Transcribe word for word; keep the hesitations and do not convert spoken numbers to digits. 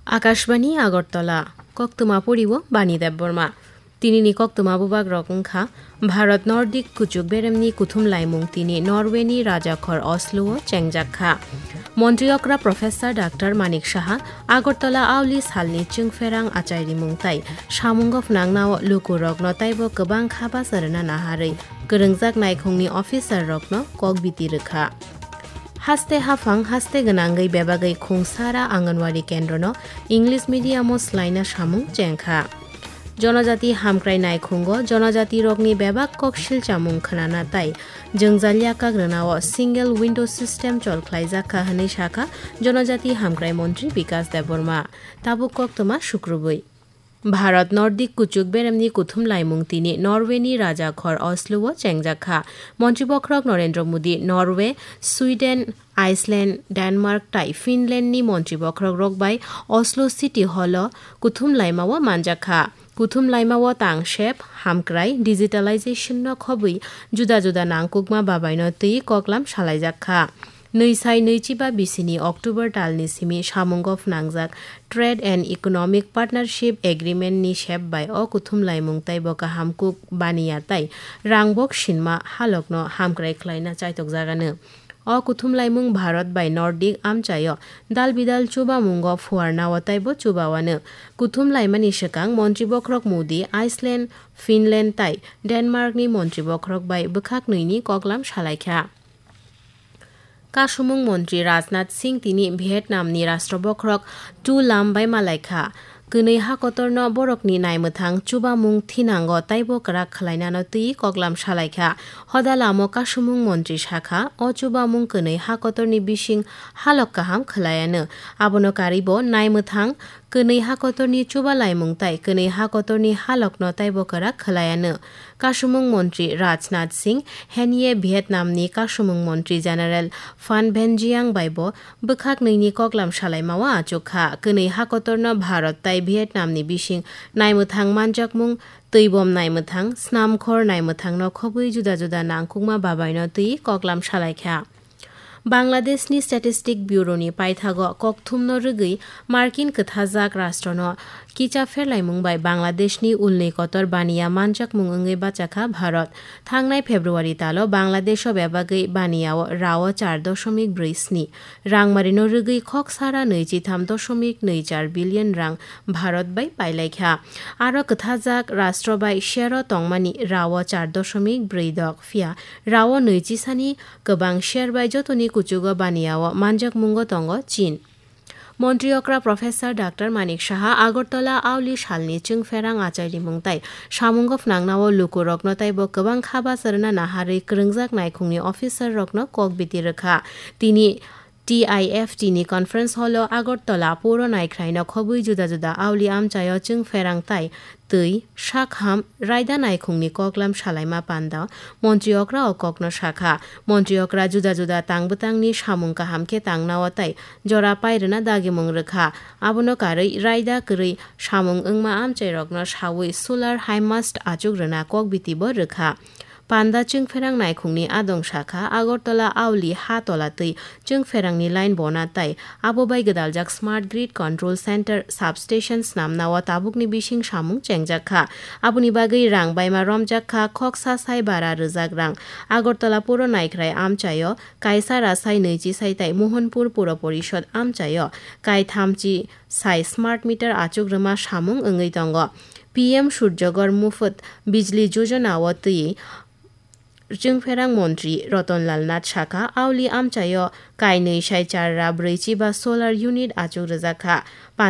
Akashbani Agartala, koktwma poriwo Bani Debbarma. Tinini koktwma bubagrok wngkha: Bharat Nordic kuchuk beremni kuthum laimung tini Norway ni rajakhor Oslo o chengjak kha. Montri okra Professor Doctor Manik Saha Agartala auli salni chwngpherang achairimung tai samungo phnangnao lukurokno taibo kwbang kha bacha rwna naharwi kwrwngjak naikhungni officer rokno kok biti rwkha. Haste haphang haste gwnangwi bebagwi khungsara Anganwadi kendrono English medium o swlaina samung chengkha. Jonojati hamkrai naikhungo jonojatirokni bebak kok silchamung khwnana tai jwngjalya kagrwnao single window system chol khlaijak kha hwnwi sakha Jonojati hamkrai montri Bikas Debbarma. Tabuk koktwma sukrubwi. Bharat Nordic kuchuk beremni kuthum laimung tini Norway ni rajakhor Oslo o chengjak kha. Montri bokhorok Narendra Modi Norway, Sweden, Iceland, Denmark tai Finland ni montri bokhorok rok bai Oslo City Hall o kuthum laima o manjak kha. Kuthum laima o tang sep, hamkrai, digitalization no khobwi juda juda nangkukma babai no twi koklam salaijak kha. Nwi sai nwi chiba bisini October talni simi samungo phnangjak Trade and Economic Partnership Agreement ni sep bai o kuthum laimung taibo kaham kuk baniya tai rangbok sinma halokno hamkrai khlaina chaitokjagano. O kuthum laimung Bharat bai Nordic amchaio dal bidal chubamungo phuarnao taibo chubawano. Kuthum laimani swkang montri bokhorok Modi Iceland, Finland tai Denmark ni montri bokhorok bai bwkhak nwi ni koklam salaikha. Kasumung montri Rajnath Singh tini Vietnam ni rashtra bokhorok Tu Lam bai malaikha. Kwnwi hakotorno borokni naimwthang chubamung thinango taibo kwrak khwlainano twi koklam salaikha. Hoda lamo kasumung montri sakha, o chubamung kwnwi hakotorni bising halok kaham khwlaiano. Abono karwibo naimwthang kwnwi hakotorni chubalaimung tai kwnwi hakotorni halokno taibo kwrak khwlaiano. Kasumung montri Rajnath Singh henie Vietnam ni kasumung montri General Phan Van Giang bai bo bwkhak nwi ni koklam salaima o achuk kha. Kwnwi hakotorno Bharat tai Vietnam ni bising naimwthang manjakmung, twibom naimwthang, snamkhor naimwthang no khobwi juda juda nangkukma babai no twi koklam salaikha. Bangladeshni Statistic Bureau ni paithago kokthumno rwgwi Markin kwthajak rashtrono kicha pherlaimung bai Bangladeshni ulni kotor baniya manjakmung wngwi bachakha Bharat. Thangnai February talo Bangladesho bebagwi baniyao rao char doshomik brwi sni rangmarino rwgwi khok sara nwichitham doshomik nwi char billion rang Bharat bai pailaikha. Aro kwthajak rashtra bai share-o tongmani rao char doshomik brwi dok, phiya rao nwi chisani kwbang share bai jotoni kuchugo baniyao manjakmungo tongo Chin. Montri okra Professor Doctor Manik Saha Agartala auli salni chwngpherang achairimung tai samungo phnangnao lukurokno taibo kwbang kha bacha rwna naharwi kwrwngjak naikhungni officer rokno kok biti rwkha. Tini T I F T ni conference hall o Agartala puro naikhraino khobwi juda juda auli amchaio chwngpherang tai twi sakham raida naikhungni koklam salaima panda montri okra o kokno sakha. Montri okra juda juda tang bwtangni samung kaham khe tangnao tai jora pairwna dagimung rwkha. Abono karwi raida kwrwi samung wngma amchairokno sawi solar high mast achuk rwna kok biti bo rwkha. Panda chwngpherang naikhungni adong sakha Agartala auli ha tola twi chwngpherangni line bona tai abo bai gwdaljak Smart Grid Control Center substation snamnao tabukni bising samung chengjak kha. Aboni bagwi rang baima romjak kha, khoksa sai bara rwjak rang. Agartala puro naikhrai amchaio kaisa rasai nwichi sai tai Mohanpur Puro Porishod amchaio kaitham chi sai smart meter achuk rwma samung wngwi tongo. P M Surjagor Mufut Bijli Yojana o twi Chwngpherang montri Ratan Lal Nath sakha, auli amchaio kainwi sai char ra brwi chiba solar unit achuk rwjak kha.